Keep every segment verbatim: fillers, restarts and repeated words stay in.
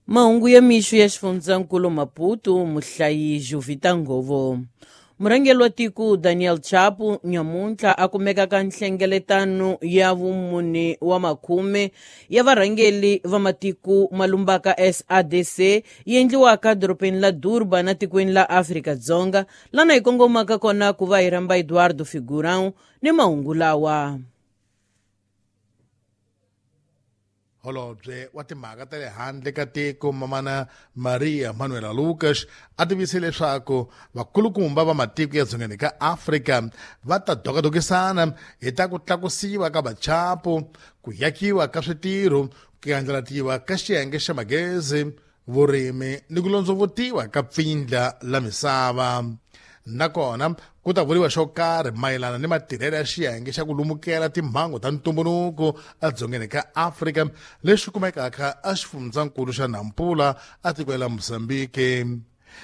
Mahungu ya mixo ya xifundzankulu Maputo, muhlayi Jovita Ngovo. Murhangeri wa tiko Daniel Chapo nyamuntlha a kumeka ka nhlengeletano ya vumune wa makhume ya varhangeri va matiko malumbaka S A D C yi endliwaka dorobeni la Durban na tikweni la Afrika-Dzonga, lana hi kongomaka kona ku va hi rhamba Eduardo Figurão ni mahungu lawa. Holobye wa timhaka ta le handle ka tiko Mamana Maria Manuela Lucas a tivise leswaku vakulukumba va matiko ya dzongeni ka Afrika va ta dokadokisana hi ta ku tlakusiwa ka vachapo, ku yakiwa ka switirho, ku andlalatiwa ka xiyenge xa magezi, vurimi ni ku londzovutiwa ka pfindla la misava. Nakona ku ta vuriwa xo karhi mayelana ni matirhelo ya xiyenge xa ku lumukela timhangu ta ntumbuluko edzongeni ka Afrika lexi kumekaka exifundzankulu xa Nampula etikweni la Mozambique.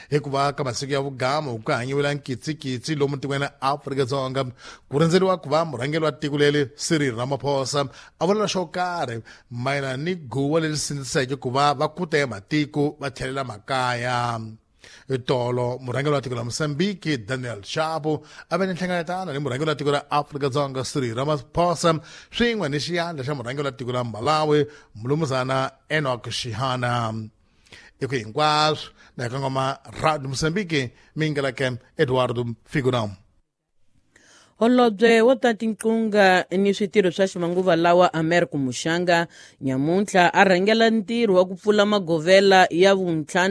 Hikuva ka masiku ya vugamu ku hanyiwela nkitsikitsi lomu tikweni ra Afrika-Dzonga, ku rindzeriwa ku va murhangeri wa tiko leri Cyril Ramaphosa a vula xo karhi mayelana ni guwa leri sindziseke ku va va kuta ya matiko va tlhelela makaya. Tolo murhangeri wa tiko la Mozambique Daniel Chapo a ve ni nhlengeletano ni murhangeri wa tiko ra Afrika-Dzonga Cyril Ramaphosa swin'we ni xiyandla xa murhangeri wa tiko la Malawi mulumuzana Enoch Shihana. Eku hinkwaswo na hi kongoma Radio Mozambique mingeleke Eduardo Figurão. Holobye wo ta tinqunga ni switirho swa ximanguva lawa Americo Muxanga nyamuntlha a rhangela ntirho wa ku pfula magovela ya vuntlhanu